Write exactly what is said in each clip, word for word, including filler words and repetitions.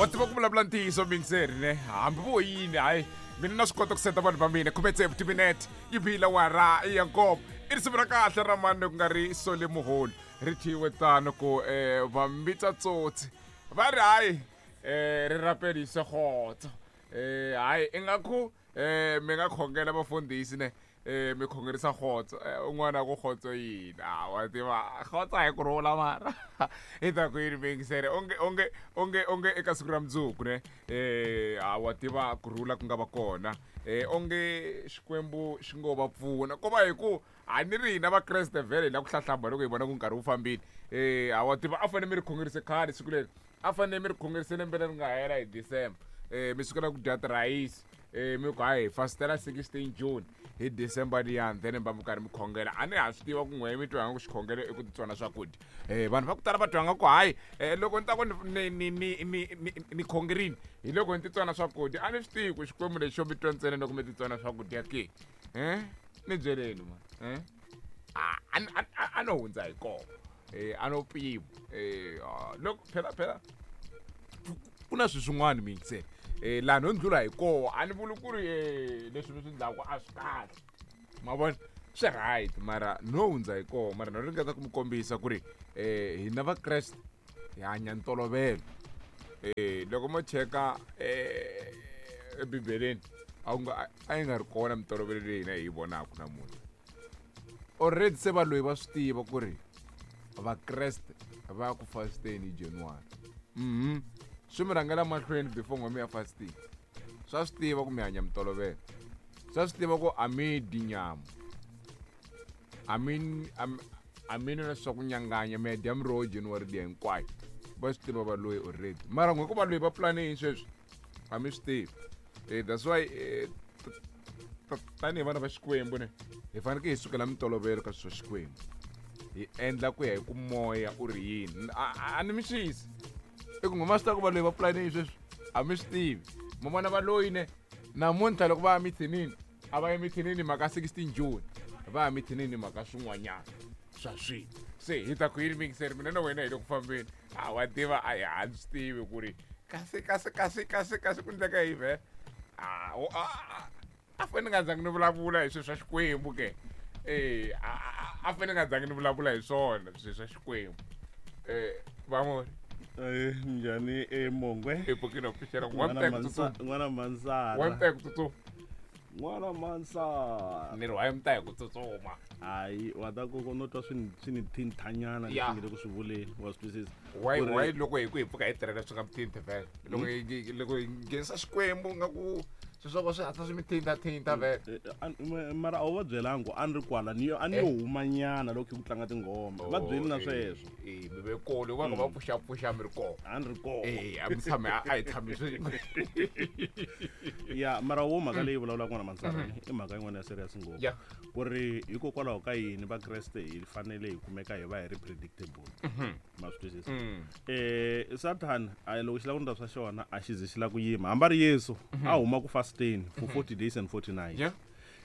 Wa tiva ku vulavula ntiyiso mingiseri ne hambi vo yini hayi mina na swi kota ku seta vanhu va mina khume tsevu timinete yi bile wara ya nkombo i risimu ra kahle ra mani ku nga ri Sole Muholo ri thyiwe tano ku um va mbitsa tsotsi va ri hayi um ri rapelise kgotso um hayi ingaku um mi nga khongela vafundhisi ne um mi khongerisa kgotso un'wana a ku kgotso yini a wa tiva kgotso a hi ku rhula mara i ta ku yini mingisere onge onge onge onge eka siku ra mundzuku ne um a wa tiva ku rhula ku nga va kona um onge xikwembu xi ngo va pfuna ko va hi ku a ni ri hina vakreste vhele hi la ku hlahlamba loko hi vona ku nkarhi wu fambile um a wa tiva a fanele mi ri khongerise khale siku leri a fanele mi ri khongerise lembe leri nga hela hi December um mi sukela ku dya tirhayisi um mi ku hayi hi fastela sixteen June hi December liyani then mi va mi karhi mi khongela a ni ha swi tiva ku n'we mi twa nga ku xikhongelo i ku titsona swakudya um vanhu va ku tala va twa nga ku hayi um loko ni ta ku ni ni ni ni ni ni khongerini hi loko ni titsona swakudya a ni swi tivi ku xikwembu lexi xo mi twa ntsena loko mi titsona swakudya ke um ni byeleni ma um a a a no hundza hi kona um a no pima um loko phela phela ku na swilo swin'wana mingiseni eh laha no ndlula hi koho a ni vuli ku ri eh leswi mi swi ndlaku a swi kahle ma vona swi right mara no hundza hi koho mara no ringeta ku mi kombisa ku ri eh hina vakreste hi hanya ntolovelo eh loko mo cheka eh ebibeleni a wu nga a yi nga ri kona mintolovelo leyi hina hi yi vonaka namuntlha already se valoyi va swi tiva ku ri vakreste va ya ku fasteni hi January mhm swi mi rhangela mahlweni before n'we mi ya fasting swa swi tiva ku mi hanya mintolovelo swa swi tiva ku a mi dyi nyama a mi a mi nwi na swa ku nyanganya mi ya dya miroho January liya hinkwayo va swi tiva valoyi already mara n'we ku valoyi va pulane yini sweswi a mi swi tivi eh that's why eh, tanihi vana va xikwembu ne hi fanekele hi sukela mintolovelo ka swilo swa xikwembu hi endla ku ya hi ku moya u ri yini a ni mi xisi i ku n'we ma swi tiva ku valoyi va pulane yini sweswi a mi swi tivi mo vona valoyi ne namuntlha loko va ya mithinini a va ya mithinini mhaka sixteen June va ya mithinini mhaka swin'wanyana swa swilo se hi ta ku yini mingiseri mina na wena hi le ku fambeni a wa tiva a hi a ni swi tivi ku ri kasi kasi kasi kasi kasi ku ndleka yi vhe a a fanele ni nga zangi ni vulavula hi swilo swa xikwembu ke eh a fanele ni nga zangi ni vulavula hi swona swilo swa xikwembu eh vamori Eh, njhani emongwe i pfukile u pfuxela n'wana mansa n'wana mansara wa mita hi ku tsutsuma n'wana mansara ni ri wa mita hi ku tsutsuma hayi wa ta ku no twa swi ni swi ni thinthanyana leswi Ya. nge le ku swi vuleni wa swi twisisa why Ku ri- why loko hi ku hi pfuka hi tirhela swi nga mi thinthi vhele loko hi loko hi nghenisa xikwembu nga ku swilo swa ko swi hatla swi mi thinta thinta vhele Eh, an- ma- mara a wu va byelangi ku a ni ri kwala ni yo a ni yo humanyana loko ku tlanga tinghoma va byeli na sweswo eh mi ve kole va nga va pfuxa pfuxa mi ri kona a ni ri kona eh a mi tshame a a hi tshami swin'we ya mara wo mhaka leyi vulavulaka n'wana mansara i mhaka yin'wana ya serious ngopfu Ya. ku ri hikokwalaho ka yini vakreste hi fanele hi kumeka hi va hi ri predictable ma swi twisisa eh satan a loko xi lava ku ndla swa xona a xi ze xi lava ku yima hambi a ri yesu a huma ku fasteni for forty days and forty nights Yeah.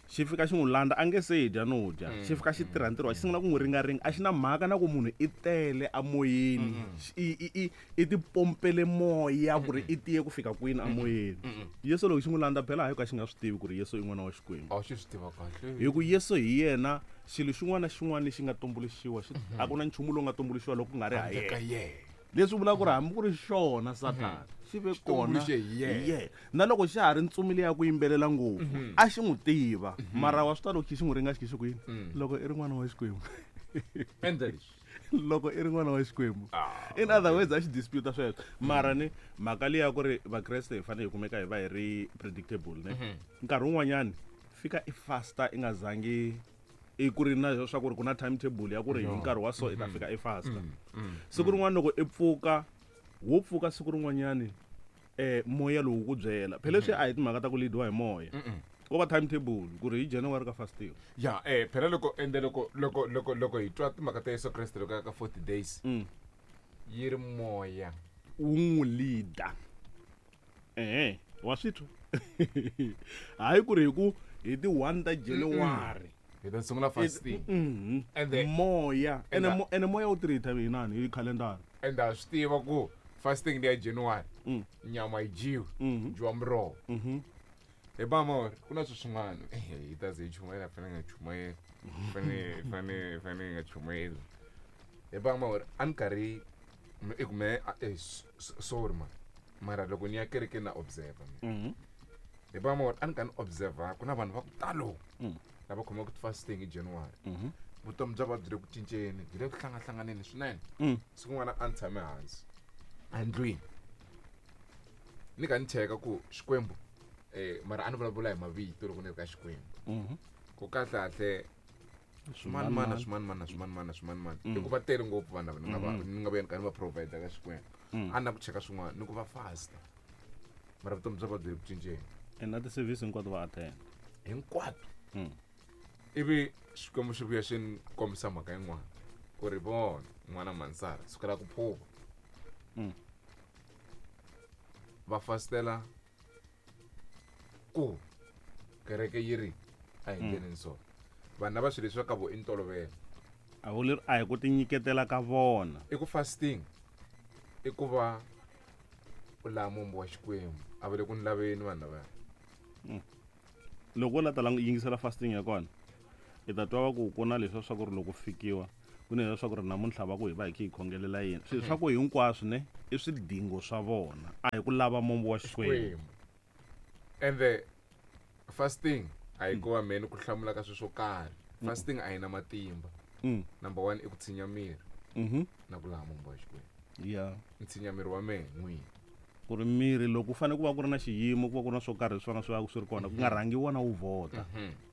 xi fika xi n'wi landza a nge se dya no dya xi fika xi tirha ntirho wa xi sungula ku n'wi ringaringa a xi na mhaka na ku munhu i tele amoyeni i i i i tipompele moya ku ri i tiye ku fika kwini amoyeni yesu loko xi n'wi landza phela hayi ka xi nga swi tivi ku ri yesu i n'wana wa xikwembu a xi swi tiva kahle hi ku yesu hi yena xilo xin'wana na xin'wana lexi nga tumbuluxiwa xi a ku na nchumu lowu nga tumbuluxiwa loko ku nga ri ha ka yena yena leswi vulaka ku ri hambi ku ri xona satana xi ve kona tumbuluxe hi yena. hi yena na loko xa ha ri ntsumi leyi ya ku yimbelela ngopfu a xi n'wi tiva mara wa swi ta loko xi xi n'wi ringa xi xi ku yini loko i ri n'wana wa xikwembu endla leswi loko i ri n'wana wa xikwembu Ah. in other words a xi dispute sweswo mara ni mhaka leyi ya ku ri vakreste hi fanele hi kumeka hi va hi ri predictable ne nkarhi wun'wanyani fika i fasta i nga zangi i ku ri na swa ku ri ku na timetable ya ku ri hi nkarhi wa so i ta fika i fasta siku rin'wana loko i pfuka wo pfuka siku rin'wanyani eh moya lowu ku byela phela leswi a hi timhaka ta ku leadiwa hi moya ko va timetable ku ri hi January ka fasting ya eh phela loko ende loko loko loko loko hi twa timhaka ta Yesu Kreste loko a ya ka forty days Mm. yi ri moya wu n'wi leader ehe wa swi twa hayi ku ri hi ku hi ti one ta January hi ta sungula fasting Mhm. And the- moya And ene the- mo- ene moya wu tirhi hi inani hi khalendara and ha swi tiva ku Fasting leya January. Mm. Nyama yi dyiwi. Mhm. Dyiwa miroho. Mhm. Hi ba mor, ku na swilo swin'wana. Eh, hi ta ze hi chumayela fanele nga chumayeli. Fanele fanele fanele nga chumayeli. Hi ba mor, a ni karhi i ku me eh, sorry man. Mara loko ni ya kerekeni na observe. Mhm. Hi ba mor, a ni ka ni observe ku na vanhu va ku talo. Mm. Lava khomaka fasting hi January. Mhm. Vutomi bya va byi le ku cinceni, byi le ku hlangahlanganeni swinene. Mm. Siku rin'wana a ni tshame hansi endlwini ni ka ni cheka ku Xikwembu eh mara a ni vulavula hi mavito loko ni ri ka Xikwembu. Mhm. Ku kahlekahle swimanimani swimanimani swimanimani swimanimani i ku va tele ngopfu vanhu lava ni nga va ni nga va ni ka ni va provide ka Xikwembu. A ni na ku cheka swin'wana ni ku va fasta mara vutomi bya va byi le ku cinceni. And na ti-service hinkwato va attend. Hinkwato. Mm. Ivi Xikwembu xi vuya xi ni kombisa mhaka yin'wana ku ri vona n'wana Mansara sukela ku phuva. Mm. Va fastela ku kereke yi ri a hi ndleleni so vanhu lava swilo leswi va ka vo i ntolovelo. A wu leri a hi ku tinyiketela ka vona. I ku fasting i ku va u lava mombo wa Xikwembu a va le ku ni laveni vanhu lavaya. Loko u la ta yingisela fasting ya kona i ta twa va ku ku na leswi swa ku ri loko fikiwa ku na leswi swa ku ri namuntlha va ku hi va hi kha hi khongelela yini. Swilo swa ku hinkwaswo ne i swidingo swa vona a hi ku lava mombo wa Xikwembu. And the fasting a hi ku va mheni ku hlamula ka swilo swo karhi. Fasting a yi na matimba. Mm. Number one i ku tshinya miri Mhm. na ku lava mombo wa Xikwembu. Yeah. Ni tshinya miri wa mehe n'wini. Ku ri miri loko ku fanele ku va ku ri na xiyimo ku va ku ri na swo karhi leswi va nga swi va swi ri kona ku nga rhangi wona wu vhota.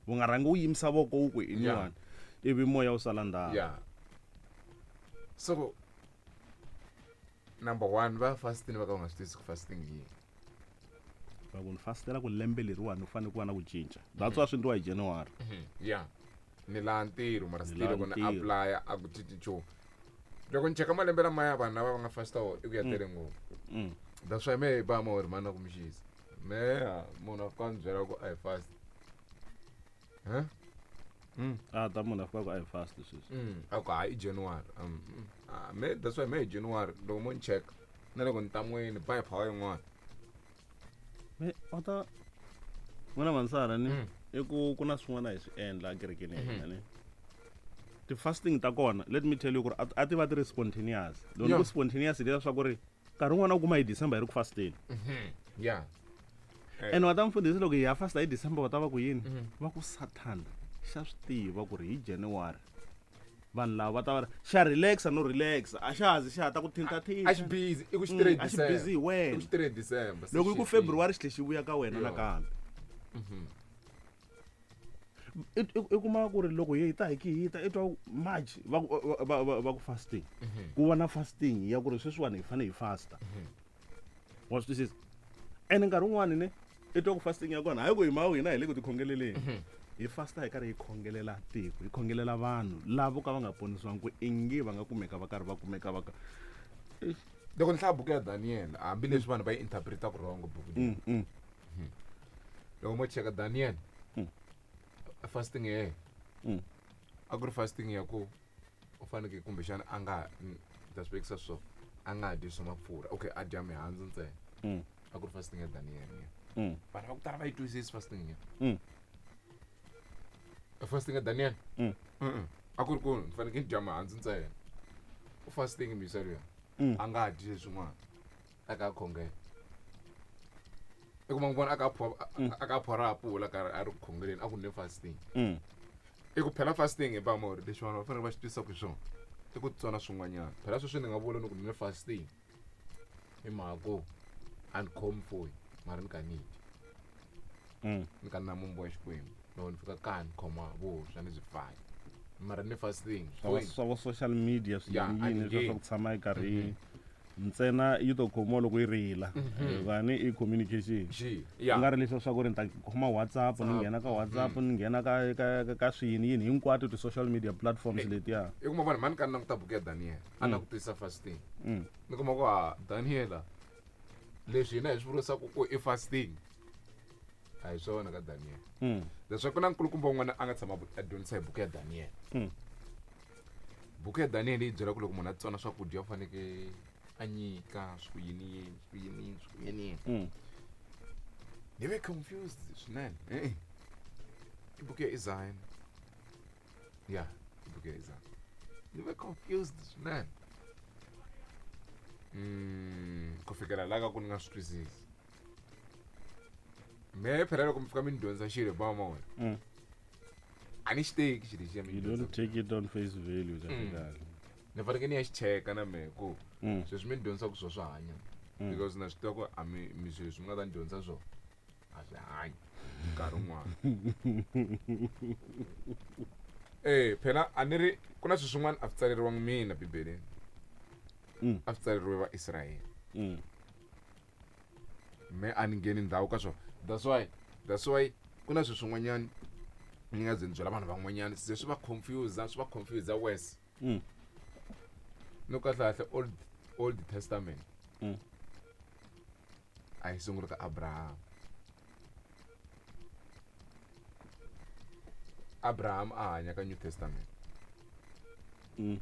Wu nga rhangi wu yimisa voko wu ku i niwani ivi moya wu sala ndzhaku. Yeah. So number one va fasting va ka va nga swi twisisi ku fasting hi yini. Va ku ni fastela ku lembe leriwani u fanele ku va na ku cinca. That's why swi endliwa hi January. Yeah. Ni laha ntirho mara Ni still laha loko ni ntirho. apply a ku cinci nchumu. Loko ni cheka malembe lamaya vanhu lava va nga fasta wona i ku ya tele ngopfu. Mm. That's why mehe ba mo ri mana ku mixisa. Mehe munhu a fika a ni byela ku a hi fast. Huh? Mm. A ta munhu a fika ku a hi fast sweswi. Mm. A ku hayi i January. Um, mm. Ah, me that's why me hi January loko mo ni check na loko ni ntan'wini ba hi power yin'wana. Me wa ta n'wana Mansara ni Mm. i ku ku na swin'wana hi swi endla ekerekeni ya hina ni. Ti-fasting ta kona let me tell you ku ri a ti va ti ri spontaneous. Loko ni Yeah. ku spontaneous leswiya swa ku ri nkarhi wun'wana u kuma hi December hi ri ku fasteni. Yeah. And wa ta mfundhisi loko hi ya fasta hi December va ta va ku yini? Va ku Satan xa swi tiva ku ri hi January vanhu lava va ta va ri xa relaxa no relaxa a xa ha zi xa ha ta ku thintathinta. A xi busy i ku xi tirhe Mm, a xi busy hi wena. I ku xi tirhe December. Loko yi ku February xi tlhe xi vuya ka wena Yeah. nakambe. I i kuma ku ri loko hi ta hi ki hi ta i twa March va ku va va va ku fasting. Ku va na fasting ya ku ri sweswiwani hi fanele hi fasta. Wa swi twisisa? Ene nkarhi wun'wani ne i twa ku fasting ya kona hayi ku hi mawu hina hi le ku tikhongeleleni. Hi fasta hi karhi hi khongelela tiko, hi khongelela vanhu lava vo ka va nga ponisiwangi ku ingi va nga kumeka va karhi va kumeka va ka. Loko ni hlaya buku ya Daniel hambileswi vanhu va yi interpretaka wrong buku leyi. Mm, mm. Loko mo cheka Daniel Mm. fasting ya yena Mm. a ku ri fasting ya ku u fanekele kumbexana a nga ni ta swi vekisa so a nga dyi swa mafurha okay a dya mihandzu ntsena. Mm. A ku ri fasting ya Daniel ya. Mm. Vanhu va ku tala va yi twisisi fasting ya. Mm. Fasting ya Daniel. Mm. Mm. A ku ri ku ni fanekele ni dya mihandzu ntsena. U fasting misa luya. Mm. A nga dyi leswin'wana. A ka khongela. I kuma ku vona a ka a ka phora apula karhi a ri ku khongeleni a ku ne fasting. Mm. I ku phela fasting hi ba mo ri leswi vanhu va fanele va swi twisisa ku swona i ku tsona swin'wanyana. Phela sweswi ni nga vula ni ku ni ne fasting hi mhaka ku a ni khomi foyi mara ni ka ni dya. Mm. Ni ka na mombo wa Xikwembu. Loko ni fika kaya ni khoma vuswa ni byi faya. Mara ni fasting. Swa swa vo social media swi Yeah, yini a ni yini leswi swa ngheni. ku tshama yi karhi ntsena yi to khomiwa loko yi rila. Hikuva i communication. Xi. Ku nga Yeah. ri leswiya swa ku ri ni ta khoma WhatsApp ni nghena ka WhatsApp ni nghena ka ka ka swiyini yini hinkwato ti-social media platforms letiya. I kuma vanhu mani ka ni languta buku ya Daniel a na ku twisisa fasting. Mm. Ni kuma ku ha Daniel leswi hina hi swi vurisaka ku i fasting a hi swona ka Daniel. Mm. Leswaku ku na nkulukumba un'wana a nga tshama a dyondzisa hi buku ya Daniel. Mm. Buku ya Daniel yi byela ku loko munhu a tsona swakudya u fanekele A nyika swi ku yini yini swi ku yini yini swi ku yini yini. Mm. Ni ve confused swinene. E-e. I buku ya Isaiah. Ya, i buku ya Isaiah. Ni ve confused swinene. Mm, ku fikela la ka ku ni nga swi twisisi. Mehe phela loko mi fika mi ni dyondzisa xilo ba ma wena. Mm. A ni xi teki xilo lexiya mi You ni don't dyondzisa. take it on face value kahle Mm. kahle. Ni fanekele ni ya xi cheka na mehe ku Mm. sweswi mi ni dyondzisaka swona swa hanya. Mm. Because na swi tiva ku a mi mi swilo leswi mi nga ta ni dyondzisa swona a swi hanyi nkarhi wun'wana. Eh, phela a ni ri ku na swilo swin'wana a swi tsaleriwangi mina bibeleni. Mm. A swi tsaleriwe Vaisrayele. Mm. Me a ni ngheni ndhawu ka swona. That's why that's why ku na swilo swin'wanyana ni nga ze ni byela vanhu van'wanyana se swi va confuse swi va confuse worse. Mm. No kahle kahle old old testament. Mm. A yi sungula ka Abraham. Abraham a hanya ka New Testament. Mm.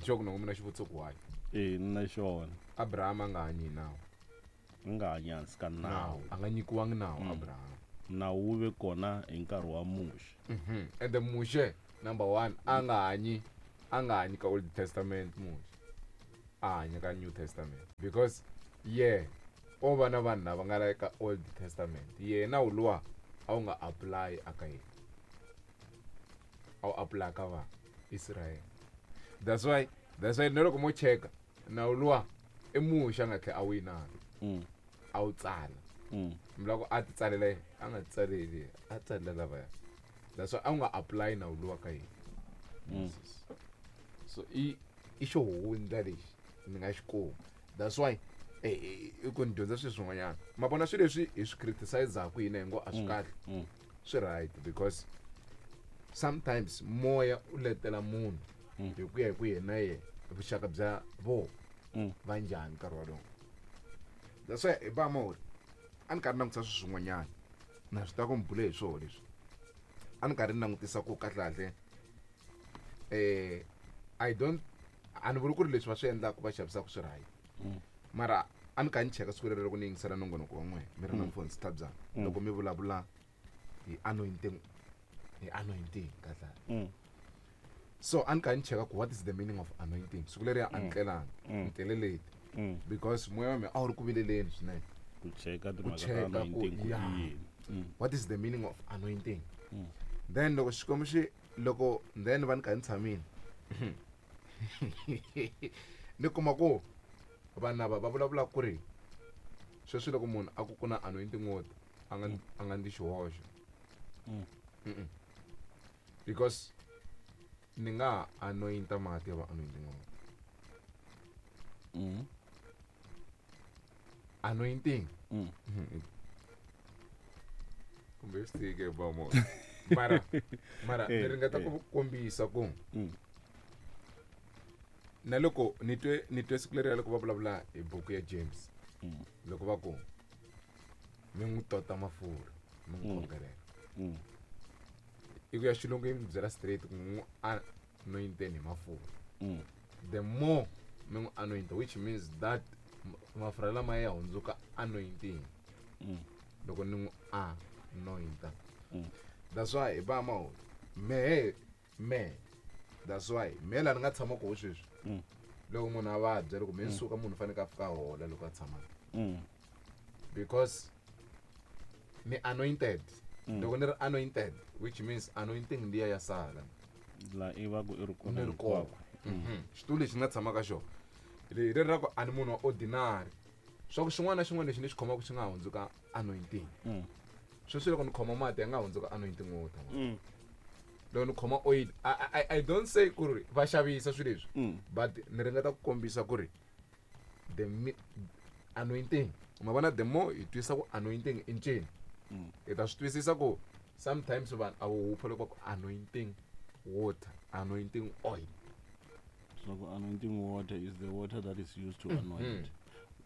Nxoko na mina xivutiso ku why. Eh, na xona. Abraham a nga hanyi hi nawu. A nga hanyi hansi ka nawu. A nga nyikiwangi nawu Mm. Abraham. Nawu wu ve kona hi nkarhi wa Muxe. Mhm. And the Mushe number one a nga hanyi a nga hanyi ka Old Testament Mushe. A hanya ka New Testament because yeah o va na vanhu lava nga la ka Old Testament yena wu luwa a wu nga apply aka yena. A wu apply ka va Israel. That's why that's why na loko mo cheka nawu luwa i Muxe a nga tlhela a wu yinana Mm. a wu tsala. Mm. Mi lava ku a ti tsalela yena a nga ti tsaleli yena a tsalela lavaya. That's why a wu nga apply nawu luwa ka yena. Mm. Moses. So i i xihundla lexi ni nga xi kuma. That's why eh, eh, i ku ni dyondza swilo swin'wanyana. Ma vona swilo leswi hi swi criticize-aku hina hi ngo a swi kahle. Mm. Swi right because sometimes moya u letela munhu Mm. hi ku ya hi ku yena yena vuxaka bya vo Mm. va njhani nkarhi wolowo. That's why hi ba mori a ni karhi langutisa swilo swin'wanyana na swi tiva ku mi bule hi swona leswi a ni karhi ni langutisa ku kahlekahle eh I don't a ni vuli ku ri leswi va swi endlaka va xavisaka swi right Mm. mara a ni karhi ni cheka siku rero loko ni yingisela nongonoko wa n'wina mi ri na mfundhisi Thabzana Mm. loko mi vulavula hi anointing hi anointing kahlekahle Mm. so a ni karhi ni cheka ku what is the meaning of anointing siku leriya a ni tlelangi Mm. ni tlele late Mm. because moya wa mina a wu ri ku vileleni swinene Ku cheka Ku timhaka ta cheka ku- anointing ku i yeah. yini. Mm. What is the meaning of anointing? Mm. Then loko xikwembu xi loko then va ni karhi ni tshamile ni kuma ku vanhu lava va vulavula ku ri sweswi loko munhu a ku ku na anointing water a nga a nga ndzi xihoxo. Mm. Mm-mm. Because ni nga ha anointa mati ya va anointing water. Mm. Anointing Mm. kumbe swi tike ba mo mara mara Eh, ni ringeta eh. ku kombisa ku Mm. na loko ni twe ni twe siku leriya loko va vulavula hi buku ya James Mm. loko va ku mi n'wi tota mafurha mi n'wi Mm. khongelela Mm. i ku ya xilungu yi mi byela straight ku n'wi anointeni hi mafurha Mm. the more mi n'wi anointa which means that m- mafurha lamaya ya hundzuka anointing Mm. loko ni n'wi anointa. Mm. That's why hi ba mahulu mehe mehe that's why mehe laha ni nga tshama koho sweswi Mm. loko munhu a vabya loko me ni suka munhu u fanekele a fika a hola loko a tshama Mm. because ni anointed. Mm. Loko ni ri anointed which means anointing liya ya sala La i va ku i ri kona ni ri kona. hinkwako. Mhm. Xitulu lexi ni nga tshama ka xona hi leri ra ku a ni munhu wa ordinary swa ku xin'wana na xin'wana lexi ni xi khomaka xi nga hundzuka anointing. Mm. Sweswi loko ni khoma mati ya nga hundzuka anointing water. Mm. Loko ni khoma oil I, I, I don't say ku ri va xavisa swilo leswi Mm. but ni ringeta ku kombisa ku ri the mi- anointing ma vona the more hi twisisa ku anointing i ncini Mm. hi ta swi twisisa ku sometimes vanhu a wu hupha loko va ku anointing water anointing oil. So anointing water is the water that is used to Mm. anoint.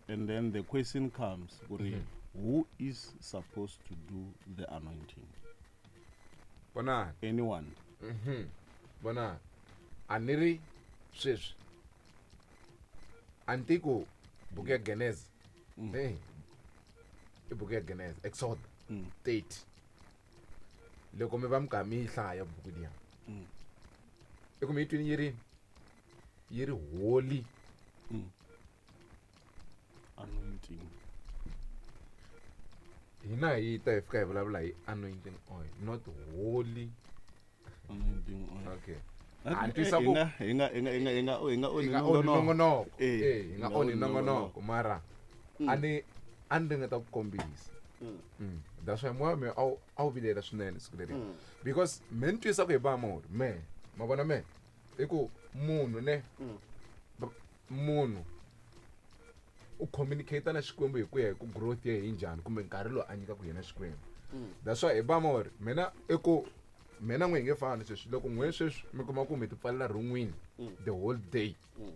And then the question comes, kuri, Mhm. who is supposed to do the anointing? Vonani. Anyone. Mhm. Vonani a ni ri sweswi Antiko buku ya Genesis. Eh. I buku ya Genesis, Exodus Mm. thirty. Loko mi va mi kha mi yi hlaya buku liya. Mm. I ku mi yi twini yi ri yi ri holy. Mm. Anointing. Hina hi ta hi fika hi vulavula hi anointing oil, not holy. Anointing oil. Okay. A A ni twisa ku hi nga hi nga hi nga hi nga hi nga hi onhi nga onhi nongonoko. nongonoko. Eh, Eh, hi nga onhi nongonoko mara Mm. a ni a ni ringeta ku kombisa. Mm. Mm. That's why moya wa mina a wu a wu vilela swinene siku leriya. Mm. Because me ni twisa ku hi ba mori me ma vona me i ku munhu ne Mm. ba- munhu u communicate na Xikwembu hi ku ya hi ku growth ya hi njhani kumbe nkarhi lowu a nyikaka yena Xikwembu. Mm. That's why hi ba mori mina i ku mina n'we hi nge fani sweswi loko n'we sweswi mi kuma ku mi ti pfalela rin'wini Mm. the whole day Mm.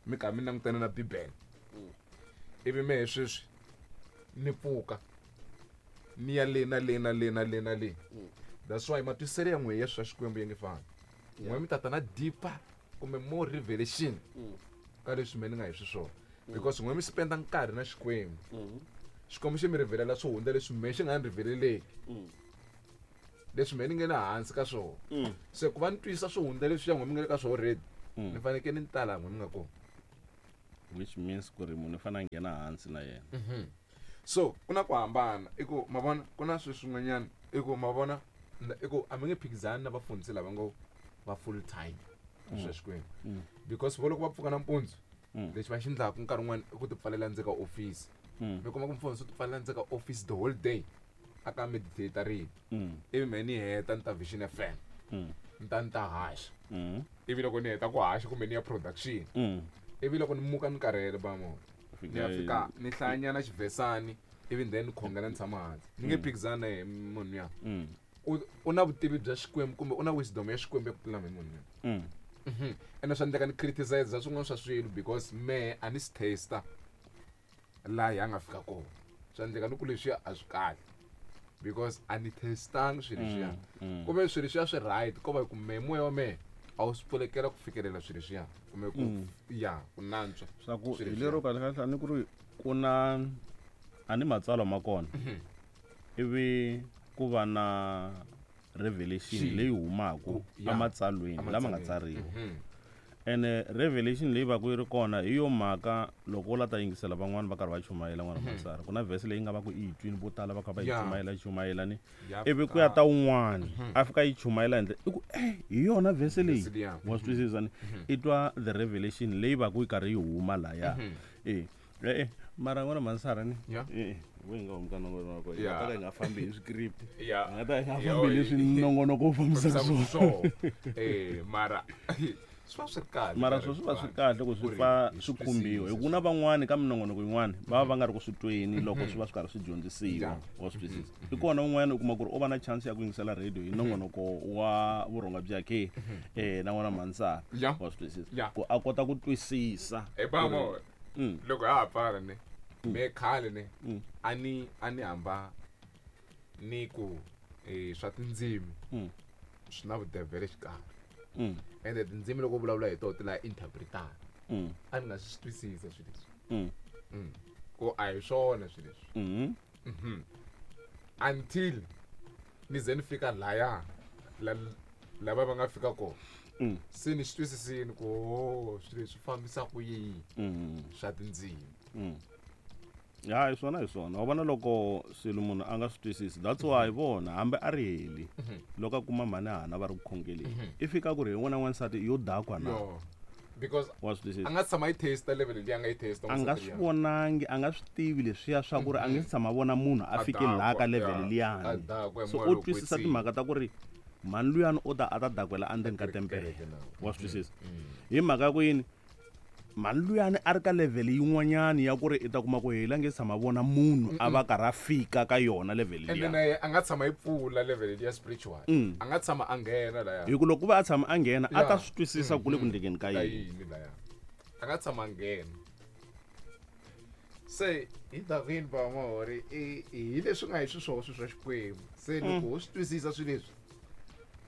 mi kha mi langutana na bibele Mm. ivi mehe sweswi ni pfuka ni ya le na le na le na le na le. Mm. That's why matwisiselo ya n'we ya swa Xikwembu ya nge fani. Yeah. N'we mi tata na deeper kumbe more revelation Mm. ka leswi me ni nga hi swiswona because n'we mi spenda nkarhi na Xikwembu. Mm. Xikwembu xi mi rivelela swo hundza leswi mehe xi nga ni riveleleki Mm. leswi mehe ni nge le hansi ka swona. Mm. Se ku va ni twisisa swo hundza leswiya n'we mi nga le ka swona already Mm. ni fanekele ni ta laha n'we mi nga kona. Which means ku ri munhu u fanele a nghena hansi na yena. So ku na ku hambana i ku ma vona ku na swilo swin'wanyana i ku ma vona na- i ku a mi nge phikizani na vafundhisi lava ngo va full time swa Xikwembu Mm. because vo loko va pfuka nampundzu Mm. lexi va xi endlaka nkarhi wun'wani i ku ti pfalela ndzeni ka office. Mm. Mi kuma ku mufundhisi u ti pfalela ndzeni ka office the whole day a ka meditate rito Mm. ivi mehe ni heta ni ta Vision F M Mm. ni ta ni ta haxa Mm. ivi loko ni heta ku haxa kumbe ni ya production Mm. ivi loko ni muka ni karhele ba mona ni ya fika ni hlayanyana xivhesani ivi then ni khongela ni tshama hansi ni nge phikizani na yehe munhu ya Mm. u u na vutivi bya Xikwembu kumbe u na wisdom ya Xikwembu ya ku tlula mehe munhu ya Mm. Mhm. Ene swa endleka ni criticize swin'wana swa swilo because mehe a ni swi taster laha hi a nga fika kona swa endleka ni ku leswiya a swi kahle because a ni testangi swilo leswiya Mm. kumbe swilo leswiya swi right ko va hi ku mehe moya wa mehe a wu swi pfulekela ku fikelela swilo leswiya kumbe ku Mm. ya ku nantswa Swa ku swilo hi leswiya. lero kahle kahle a ni ku ri ku na a ni matsalwa ma kona ivi ku va na revelation Xi. leyi humaka Ku- ya. ematsalweni lama nga Ematsalweni. tsariwa. Mhm. Ene revelation leyi va ku yi ri kona hi yo mhaka loko u la ta yingisela van'wani va karhi va chumayela n'wana matsara ku na verse leyi nga va ku i yi twini vo tala va kha va yi Ya. chumayela yi chumayela ni Ya ivi ku ya fika. ta wun'wani a fika yi chumayela hi ndlela i ku eh hi yona verse leyi Verse liya. wa swi twisisa ni i twa the revelation leyi va ku yi karhi yi huma laya eh eh mara n'wana mansara ni Ya. eh we hi nga humi ka nongonoko hi Ya. nga ta ka hi nga fambi hi script Ya. hi nga ta hi nga Ya, fambi oi. leswi nongonoko wu fambisaka Fambisaka swona swona. Eh mara swi va swi ri kahle mara nkarhi swo swi va swi wun'wana. kahle ku swi Ku ri pfa hi swi swi khumbiwa hi twisisa ku na van'wani ka minongonoko yin'wana va va va nga ri ku swi tweni loko swi va swi karhi swi dyondzisiwa Yeah. wa swi twisisa i kona un'wana u kuma ku ri u va na chance ya ku yingisela radio hi nongonoko wa vurhonga bya ke eh na n'wana mansara Yeah. wa swi twisisa Yeah. ku a kota ku twisisa Eh ba mo Mm. loko ha ha pfala ne me khale ne Mm. a ni a ni hamba ni ku eh swa tindzimi Mm. swi na vudevhele xikarhi Mm. ende tindzimi loko u vulavula hi toho ti la interpretana Mm. a ni nga swi twisisa swilo leswi Mm. Mm. ku a hi swona swilo leswi Mm. Mhm. Until ni ze ni fika laya la lava va nga fika kona Mm. se ni swi twisisini ku oh, swilo leswi fambisa ku yini Mm. swa tindzimi Mm. Ya hi swona hi swona wa vona loko swilo munhu a nga swi twisisi that's why vona hambi a ri heli loko a kuma mhani hana va ri ku khongeleni i fika ku ri hi n'wana n'wansati yo dakwa na yo because wa swi twisisa a nga tshama yi taste level leyi a nga yi taste a nga swi vonangi a nga swi tivi leswiya swa ku ri a nge se tshama vona munhu a A fike laha dakwa, ka level yeah. A liyani dakwa hi so moya u lowo twisisa kwetsima. timhaka ta ku ri mhani luyani u ta a ta dakwela endzeni ka tempele Kereke na. wa swi twisisa hi mhaka ya ku yini mhani luyani a ri ka level yin'wanyani ya ku ri i ta kuma ku heli a nge tshama vona munhu a va karhi a fika ka yona level ende liya na ye a nga tshama yi pfula level leyi ya spiritual Mm. a nga tshama a nghena laya hi ku loko ku va a tshama a nghena a ta Yeah. swi twisisa ku le ku ndlekeni ka ka yini yini laya a nga tshama a nghena se hi dakwini ba mahori i hi leswi nga hi swiswona swilo swa Xikwembu se loko ho swi twisisa swilo leswi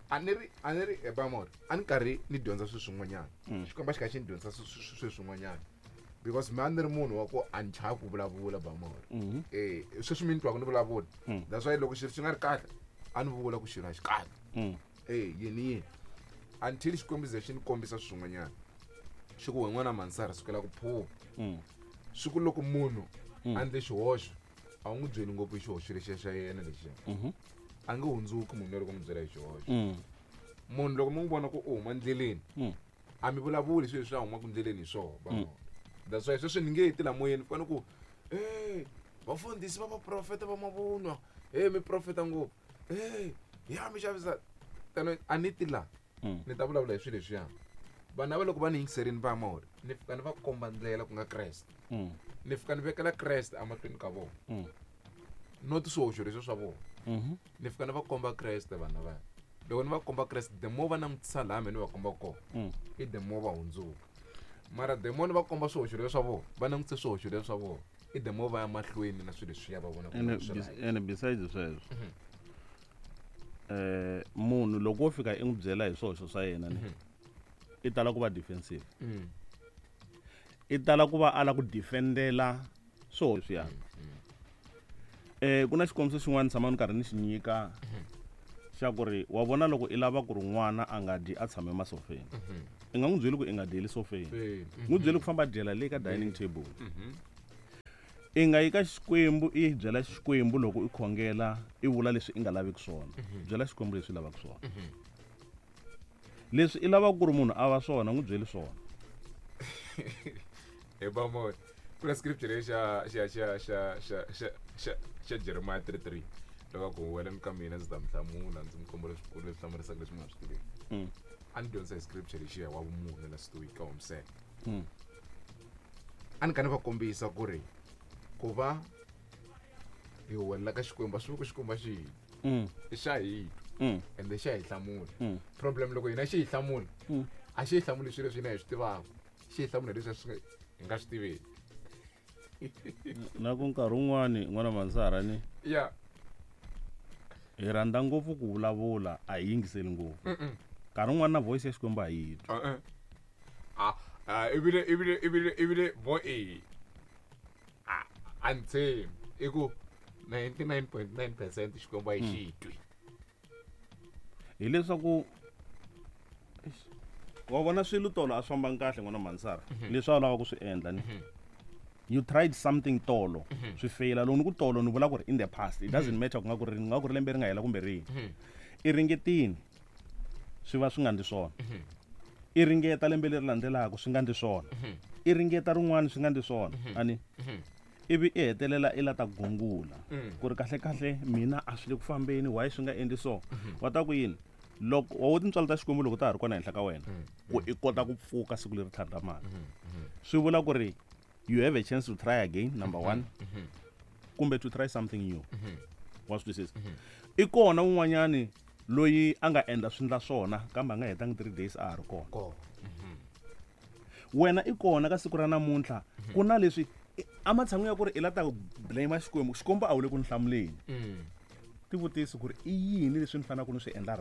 a ni ri a ni ri e ba mahori a ni karhi ni dyondza swilo swin'wanyana Xikwembu a xi kha xi ni dyondzisa swi- swi- swilo swin'wanyana Because mina ni ri munhu wa ku a ni chavi ku vulavula bamori. Eh, sweswi mi ni twaku ni vulavula. That's why loko xilo xi nga ri kahle, a ni vula ku xilo a xi kahle. Mm. Eh, yini yini. Until Xikwembu ze xi ni kombisa swin'wanyana. Xi ku wena n'wana Mansara sukela ku phuva. Mm. Swi ku loko munhu a endle xihoxo, a wu n'wi byeli ngopfu hi xihoxo lexiya xa yena lexiya. Mhm. A nge hundzuki munhu loko mi byela hi xihoxo. Mm. Munhu loko mi n'wi vona ku u huma ndleleni, Mm. a mi vulavuli swilo leswi a humaka ndleleni hi swona van'wana. That's why sweswi ni nge ti la moyeni fana ku eh vafundhisi va vaprofeta va mavunwa, eh mi profeta ngopfu, eh ya mi xavisa tano a ni ti la. Mm. Ni ta vulavula hi swilo leswiya. Vanhu lava loko va ni yingiserini va mori, ni fika ni va komba ndlela ku nga Kreste. Mm. Ni fika ni vekela Kreste emahlweni ka vona. Mm. Not swihoxo leswi swa vona. Mhm. Ni fika ni va komba Kreste vanhu lava. Loko ni va komba Kreste, the more va langutisa laha mina ni va komba kona, Mm. i the more va hundzuka. Mara the more ni va komba swihoxo leswi swa vona, va langutise swihoxo leswi swa vona, i the more va ya mahlweni na swilo leswiya va vonaka Ene swi bes- right. ene besides sweswo, eh munhu loko wo fika i n'wi byela hi swihoxo swa yena ni, i tala ku va defensive. Mm. I tala ku va ala ku defendela swihoxo leswiya. Eh ku na xikombiso xin'wana tshama ni karhi ni xi nyika xa ku ri wa vona loko i lava ku ri n'wana a nga dyi a tshame masofeni, i nga n'wi byeli ku i nga dyeli sofeni, Eh, n'wi byeli ku famba dyela le ka dining table. I nga yi ka Xikwembu i byela Xikwembu loko i khongela i vula leswi i nga laveki swona, byela Xikwembu leswi i lavaka swona. Leswi i lavaka ku ri munhu a va swona, n'wi byeli swona. Hi ba mo ku na scripture lexi xa xa xa xa xa xa xa xa Jeremiah three three loko a ku huweleni ka mina ndzi ta mi hlamula, ndzi mi komba leswikulu leswi hlamarisaka leswi mi nga swi tiveki. Mm. A ni dyondzisa hi scripture lexiya wa vumunhu last week ka Homsele. Mm. A ni kha ni va kombisa ku ri ku va hi huwelela ka Xikwembu a swi vuli ku Xikwembu a xi hi twi. Mm. I xa hi twa Mm. ende xa hi hlamula. Mm. Problem loko hina xi hi hlamula, Mm. a xi hi hlamuli swilo leswi hina hi swi tivaka, xi hi hlamula leswi swi hi nga swi tiveki. Na ku nkarhi wun'wani n'wana Mansara ni Ya. hi rhandza ngopfu ku vulavula, a hi yingiseli ngopfu. Nkarhi wun'wani na voice ya Xikwembu a hi twi. Uh-uh. Ah, ah, ebile ebile ebile ebile vo e. Ah, a ni tshembi. I ku ninety-nine point nine percent Xikwembu a yi xi twi. Hileswaku eish, wa vona swilo tolo a swi fambangi kahle n'wana Mansara, leswi a wu lava ku swi endla ni. You tried something tolo, swi feyila. Loko ni ku tolo ni vula ku ri in the past, it doesn't matter ku nga ku ri nga ku ri lembe ri nga hela kumbe rihi. I ringetini swi va swi nga ndli swona. I ringeta lembe leri landzelaka swi nga ndli swona. I ringeta rin'wana swi nga ndli swona. Ani ivi i hetelela i la ta gungula ku ri kahle kahle mina a swi le ku fambeni, why swi nga endli so. Wa ta ku yini loko wa wu tintswalo ta Xikwembu loko ta ha ri kona henhla ka wena, ku i kota ku pfuka siku leri tlhandlamaka, swi vula ku ri you have a chance to try again, number one, kumbe to try something new. Wa swi twisisa? I kona un'wanyani loyi a nga endla swi ndla swona kambe a nga hetangi three days a ha ri kona. Kona. Wena i kona ka siku ra namuntlha, ku na leswi ematshan'wini ya ku ri i la ta blame Xikwembu, Xikwembu a wu le ku ni hlamuleni. Tivutisi ku ri i yini leswi ni faneleke ni swi endla.